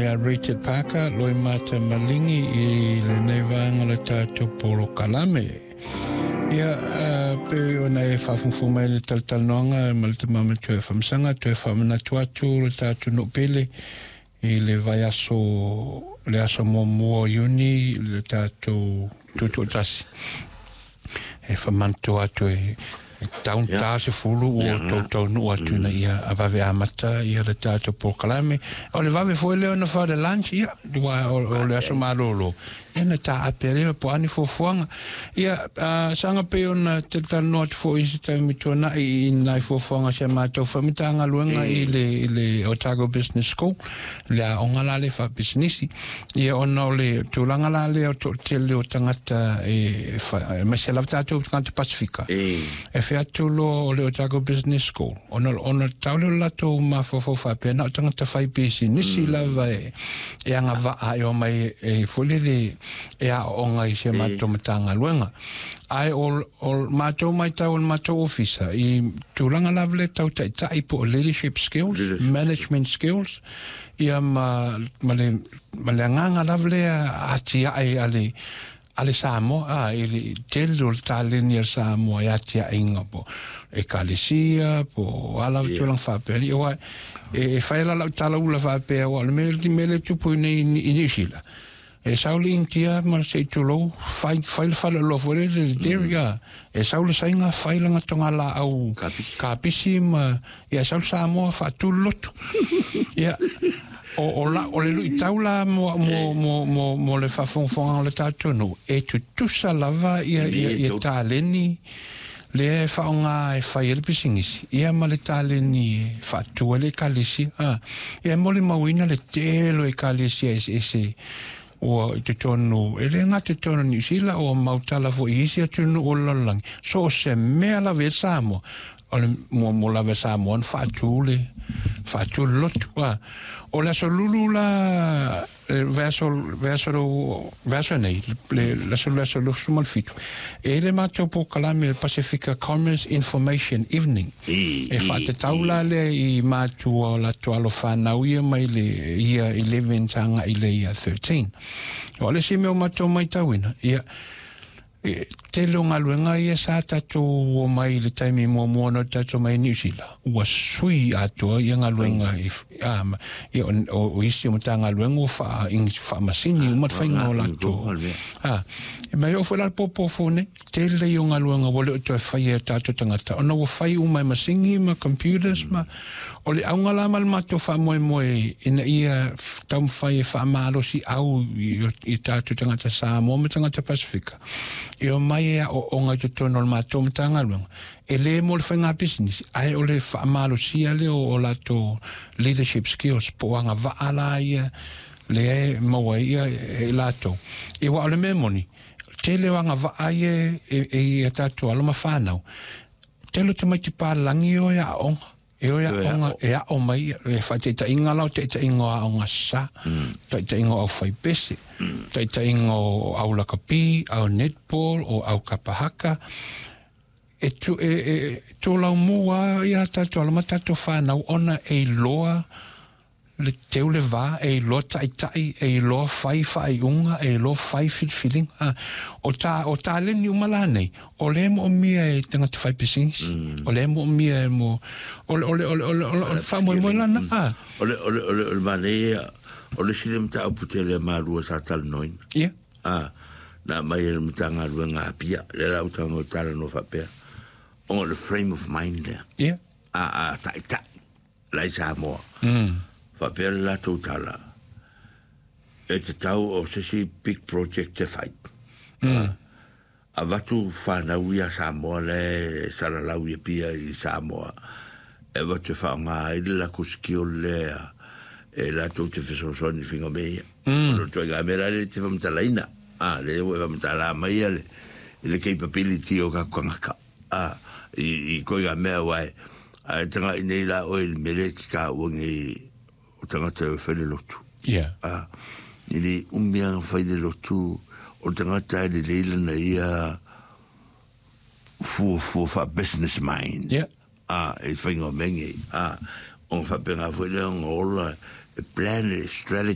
ia Richard Parker, Loimata Maligi i lenei vaega o le tatou polokalame. Ia, pei ona e faafogafoga mai i le talatalanoaga ma le tama matua e Famasaga, toe faamanatu atu le tatou nuu pele i le vaiaso, le aso muamua o Iuni, le tatou tutoatasi. E faamanatua atu e tau ta 10 ua tautaunuu atu ina ia vave amata ia le tatou polokalame. O le vave foi lea ona fai le lunch, ia, aua o le aso malolo, ia na taape lea po o a ni fuafuaga. Ia, saga pei ona talatalanoa atu foi i se taimi tuanai i nai fuafuaga a si a matou foi Matagaluega i le Otago Business School, le aoga la lea faapisinisi. Ia ona o le tulaga la lea o toatele o tagata e aemaise lava tatou tagata Pasifika. E fai atu loa o le Otago Business School, ona tau lea o le latou mafaufau faapea na o tagata fai pisinisi lava e agavaa e omai e foi lele e aooga i si a matou Matagaluega. Ae o matou matau o le matou ofisa i tulaga lava le tau taitai po o leadership skills, Leadership management skills, ia ma le agaga lava lea atiae a le Samoa, i le tele o le taleni a le Samoa e atiaʻiga po ekalesia po a lava tulaga faapea. Ia aua e fai la lau talaula faapea, aua o le mea le tupu nei i Niu Sila, e sau le Initia ma se i tulou fai, fai le faleoloa foi lele, le dairy, a e sau le Saina fai lana togalaau Kapisi. Kapisi ma ia sau le Samoa faatu le lotu. Ia o, la, o le luitau la mo le faafogafoga o le tatou nuu e tutusa lava ia taleni lea e faaaoga e fai ai le pisinisi ia ma le taleni e faatu ai le ekalesia. Ia e molimauina le tele o ekalesia eseese ua i totonu, e le gata i totonu o Niu Sila, ua mautala foi i isi atunuu o le lalolagi. So o se mea lava i Samoa, o le muamua lava e Samoa ona faatu le lotu. O le aso Lulu la, vaiaso nei, le aso 27, e le matou polokalame Pacifica Commerce Information Evening e faatatau la lea i matua o latou alo fanau ia mai le ia 11 agai le ia 13. O le isi mea o matou matauina, ia e, tele o galuega ia sa tatou omai i le taimi muamua na tatou mai Niu Sila, ua sui atoa ia galuega i, ia, o isi o Matagaluega ua faamasini uma le faiga o latou. E mai o foi la le popo nei, tele ia o galuega ua le o toe faia e tatou tagata, ona ua fai uma e masini ma computers ma o le auga la ma le matou faamoemoe ina ia taumafai e faamalosi au i tatou tagata Samoa ma tagata Pasifika e omai e aooga i totonu o le matou Matagaluega, e le mo le faiga pisinisi, ae o le faamalosia lea o latou leadership skills po o agavaa la ia lea e maua ai ia e latou. Ia aua o le mea moni, tele o agavaa ia e ia tatou alo ma fanau, tele o tamaiti palagi e o e aoga e o e aoga e ao mai e faataitaiga la o taitaiga o aoga sa, taitaiga o aufaipese, taitaiga o au lakapi, au netball, o au kapahaka e, tu, e, e tolaumu a ia tatou alo ma tatou fanau ona e iloa le teu le va, e iloa taitai, e iloa fai faaiuga, e iloa fai filifiliga. O taleni uma la nei o lea moomia e tagata fai pisinisi, o lea moomia e mo o le faamoemoe lana a O le manaia o le isi le mataupu tele a malua sa talanoaina. Na mai e le Matagaluega Apia, lea la ua tago talanoa faapea, o le frame of mind lea. A taitai la i Samoa. Faapea le latou tala, e tatau o se isi big project e fai. Avatu fanau ia Samoa le salalau i Apia i Samoa, e avatu e faaaoga ai le latou skill lea e latou te fesoasoani i faiga mea ia. O le ituaiga mea la lea e te faamatalaina. Lea ua e faamatala mai ia le capability o tatou tagata. I ituaiga mea aua e ae taga'i nei la oe i le mea lea e te taua nei o tagata e fai le lotu. I le umi lava fai le lotu o le tagata e lelei lana ia fuafua faa-business mind. E faiga o mea nei. Ona faapena foi lea ona ola e plan e strategy.